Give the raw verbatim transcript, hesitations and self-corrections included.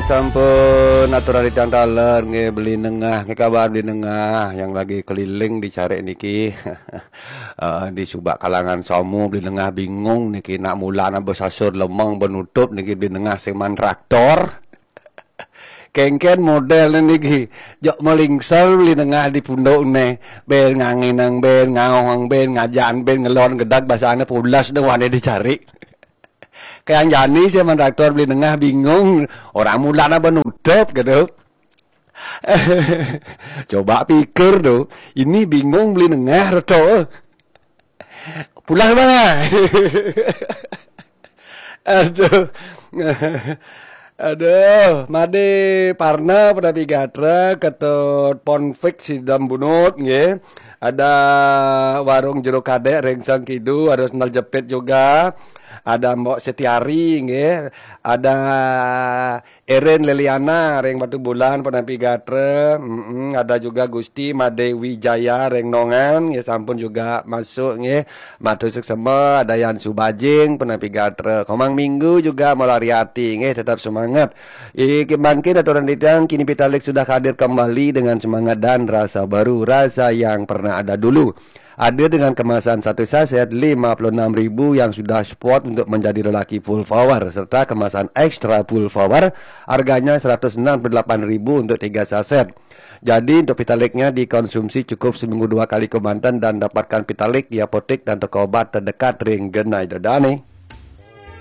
Sampun aturan titiang taler nggih, Beli Nengah. Nggih, kabar Beli Nengah yang lagi keliling dicari niki. Eh, di subak kalangan somu, Beli Nengah bingung niki, nak mula napa sasur lemeng penutup niki, Beli Nengah sing man traktor. Kengken model niki. Jok melingsel Beli Nengah di punduk ne. Ben nganginang, ben ngaohang, ben ngajan, ben ngelon gedag, basane pules deh wane dicari. Kayak jani sih man traktor, Beli Nengah bingung. Orang mula napa nutup gitu. Coba pikir tuh. Ini bingung Beli Nengah, Reto. Pulang mana? Aduh. Aduh, Made Parna, Penapi Gatra, Ketut Ponfik, Sidam Bunut nggih. Ada Warung Jero Kadek, Rengseng Kidu, ada Sendal Jepit juga. Ada Mbok Setiari nggih. Ada Eren Leliana, Reng Batu Bulan, Penapi Gatra. Mm-mm. Ada juga Gusti Made Wijaya, Reng Nongan nggih, sampun juga masuk nggih. Matur suksema, ada Yan Subajing, Penapi Gatra. Komang Minggu juga melariati nggih, tetap semangat. Iki mangkin aturan titiang, kini Pitalik sudah hadir kembali dengan semangat dan rasa baru, rasa yang pernah ada dulu. Hadir dengan kemasan satu saset lima puluh enam ribu yang sudah spot untuk menjadi lelaki full power, serta kemasan extra full power, harganya seratus enam puluh delapan ribu untuk tiga saset. Jadi, untuk Pitaliknya dikonsumsi cukup seminggu dua kali kemanten dan dapatkan Pitalik di apotek dan toko obat terdekat ring genai dedane.